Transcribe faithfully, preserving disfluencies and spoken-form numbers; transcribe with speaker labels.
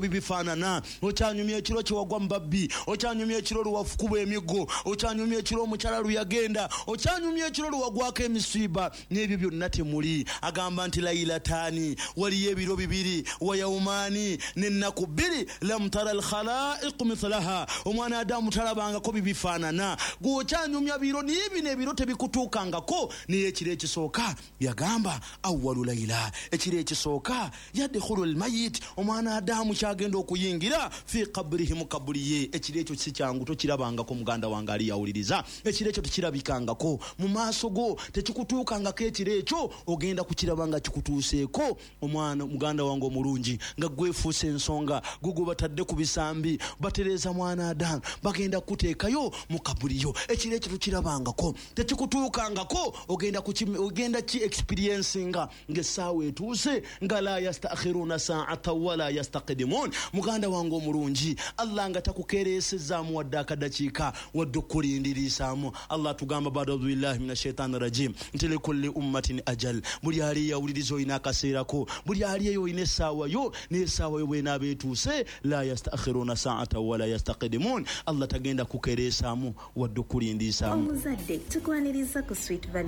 Speaker 1: Bibifaanana okyanyumya ekiro kyewagwa mu babbi, okyanyumya ekiro lwewafukuba emiggo, okyanyumya ekiro omukyala lweyagenda, okyanyumya ekiro lwewagwako emisiiba, n'ebyo byonna temuli. Agamba nti lailataani, waliyo ebiro bibiri, wayaumaani, n'ennaku bbiri, lam tara alkhalaiqu mithlaha, omwana Adamu talabangako bibifaanana. Gwe okyanyumya biro, naye bino ebiro tebikutuukangako. Naye ekiro ekisooka yagamba awalu laila, ekiro ekisooka yadkhulu almayit, omwana Adamu kyagenda okuyingira fi kabrihi, mu kaburi ye. Ekiro ekyo si kyangu, tokirabangako muganda wange ali yawuliriza. Ekiro ekyo tekirabikangako mu maaso go, tekikutuukangako. Ekiro ekyo ogenda kukiraba nga kikutuuseeko, omwana muganda wange omulungi, nga gwefuusa ensonga, gugwe batadde ku bisambi batereeza mwana Adamu, bagenda kukuteekayo mu kaburi yo. Ekiro ekyo tokirabangako, tekikutuukangako, ogenda ogenda ki experiencinga ng'essaawa etuuse, nga la yastakhiruna saata wala yastaqdimun. Muganda wange omulungi, Allah nga takukereesezaamu wadde akadakiika wadde okukulindirisaamu. Allah tugamba bada audhu billahi min ashaitani rajim nti likulli ummatin ajal, buli ali yawuliriza olina akaseerako, buli ali eyo olina essaawa yo, naye essaawa yo bwenaaba etuuse, la yastakhiruna saata wala yastaqdimun, Allah tagenda kukereesaamu wadde okukulindirisaamu.
Speaker 2: Omuzadde, tukwaniriza ku Sweet Valley.